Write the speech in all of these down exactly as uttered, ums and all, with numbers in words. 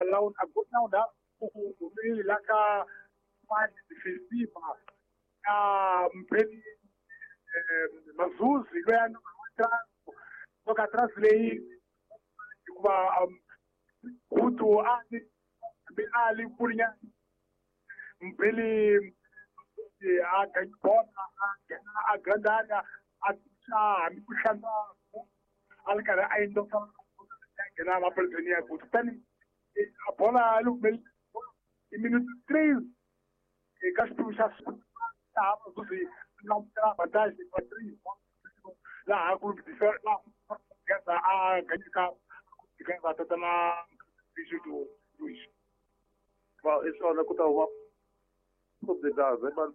La la ka defensiva ya Mpeni Mazuzi loyi a nga atrás leyi hikuva Gutu a a li kulinyana Mpeli a bola a grande área a hambi ku hlantswa a ri karhi a endla nghena mapoliteni ya Gutu kutani a bola yi i minute three eka xiphemu xa laha Mazuzi langutela advantage wa three laha ku laha a ganyeka gaza tatana Bijudo Luis va i swona ku ta huma possibilidade mas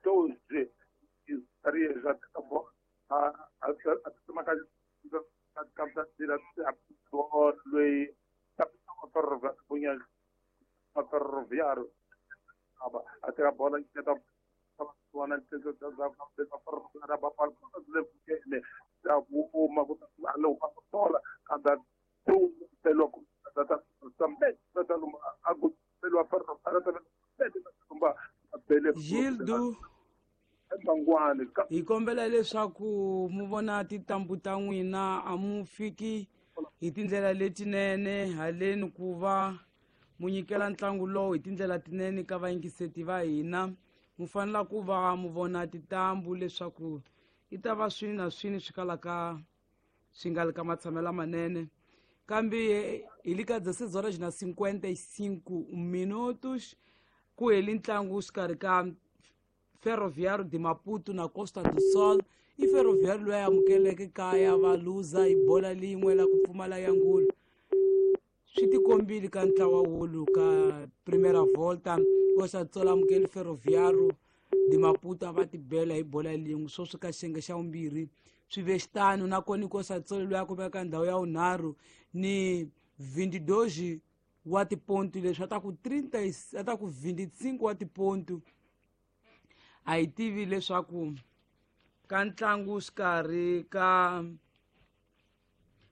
doze estaria já a a a ferroviário até a bola que tá Gildo hi kombela leswaku mu vona tintambu ta n'wina a mu fiki hi tindlela letinene haleni ku va mu nyikela ntlangu lowu hi tindlela tinene ka vayingiseti va hina mu fanela ku va mu vona tintambu leswaku i ta va swini na swini swi kalaka swi nga li ka matshamelo manene kambe hi le ka dezesseis horas na cinquenta e cinco minutos ku heli ntlangu xikarhi ka Ferroviário de Maputo na Costa do Sol i Ferroviário loyi a amukeleke kaya va luza hi bola lin'we la ku pfumala ya ngulu swi tikombile ka ntlawa wolu ka Primeira Volta Costa do Sol amukele Ferroviário de Maputo a va tibela hi bola lin'we sweswi ka xiyenge xa vumbirhi swi ve xitano nakona Costa do Sol loyi a kumeka ndhawu ya vunharhu ni vinte e dois wa tipontu leswi a ta ku trinta a ta ku vinte e cinco wa tipontu a hi tivi leswaku ka ntlangu xikarhi ka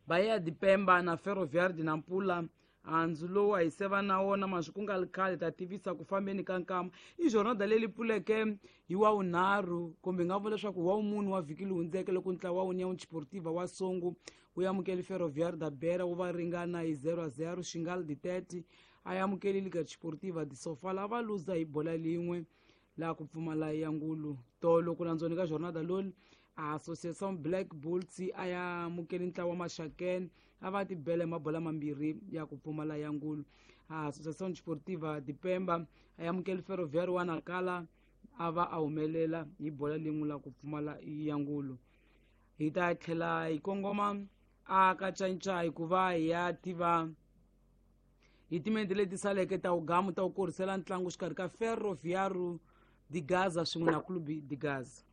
Bahia de Pemba na Ferroviário de Nampula handzu lowu a hi seva na wona maswi ku nga li khale ta tivisa ku fambeni ka nkama i jornada leyi pfuleke hi wa vunharhu kumbe hi nga vula leswaku wa vumune wa vhiki lowu hundzeke loko ntlawa wa União Desportiva wa Songo wu amukele Ferroviário da Beira wu va ringana hi zero a zero Xingal de Tete a amukele Liga Desportiva de Sofala va luza hi bola lin'we laha ku pfumala ya ngulu tolo ku landzoni ka jornada loli a Associação Black Bulls a ya amukele ntlawa wa Maxakene a va tibela hi mabola mambirhi ya ku pfumala ya ngulu a Associação Desportiva de Pemba a ya amukele Ferroviário wa Nacala a va a humelela hi bola lin'we la ku pfumala ya ngulu hi ta tlhela hi kongoma a ka canca hikuva hi ya tiva hi timente leti saleke ta wugamu ta ku korisela ntlangu xikarhi ka Ferroviário de Gaza swin'we na Clube de Gaza.